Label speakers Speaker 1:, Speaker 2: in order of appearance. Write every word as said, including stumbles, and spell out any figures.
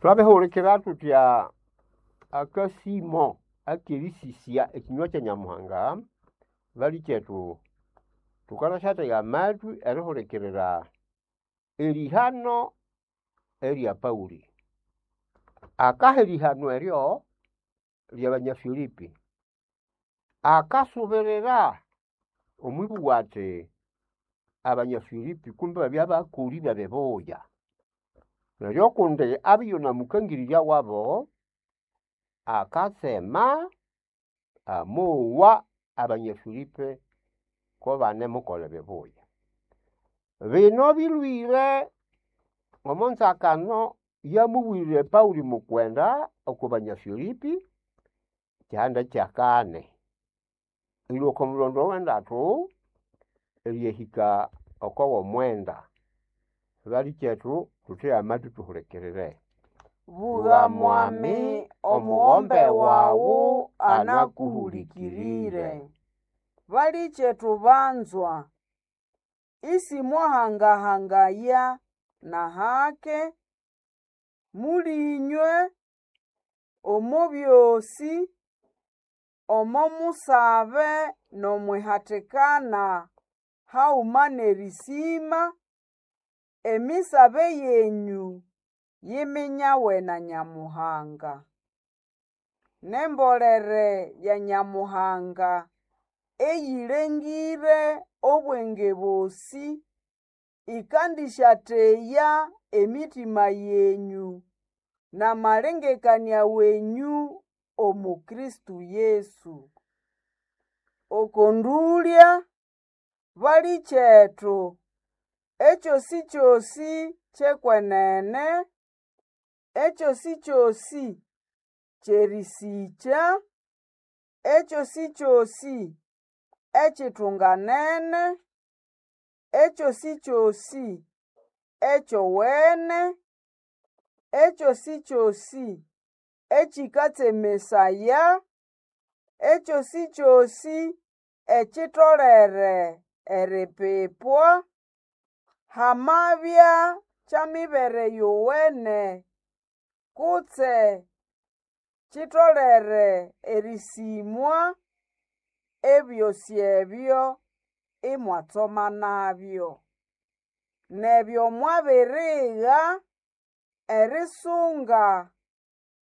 Speaker 1: Twabihulikira thutya akasimo akerisisya ekinywa kya Nyamuhanga balikyethu thukanasyathega amathwi erihulikirira erihano erya Pauli. Akaha erihano eryo ryabanya Filipi, akasubirira omwibugha athi abanya Filipi kumbe babya bakoli bebibuya. Neryo kundi abya iyunamukangirirya wabo, akatsema amowa abanya Filipi kubanemukolha ebibuya. Bino bilhwire omo nzakano yamubwire Pauli mukwenda oko banya Filipi, kyihanda kyakani, erilhwa oko mulhondo owendatu eriyahika oko womwenda. Balikyethu thuthege amathwi thuhulikirire.
Speaker 2: Bugha mwami omughombe wawu anakuhulikirire. Balikyethu banzwa, isimwahangahangaya n'ahake, mulĩnywe omo byosĩ, omo musabe n'omwihatikana haguma n'erĩsĩma, emisabe yenyũ yiminyawe na Nyamuhanga. N'embolere ya Nyamuhanga eyĩlengĩre obwenge bosĩ, ĩkandĩsyateya emitima yenyũ n'amalengekanĩa wenyũ omo Kristo Yesu. Oko ndũlya, balikyethu, ekyosĩkyosĩ ky'ekwenene, ekyosĩkyosĩ ky'erĩsĩkya, ekyosĩkyosĩ ekyitunganene, ekyosĩkyosĩ ekyowene, ekyosĩkyosĩ ekyĩkatsemesaya, ekyosĩkyosĩ ekitolere eripipwa, hamabya kyamibere yowene kutse kitolere erĩsĩmwa, ebyosĩ ebyo imwatsomanabyo. Neryo mwabirigha erisunga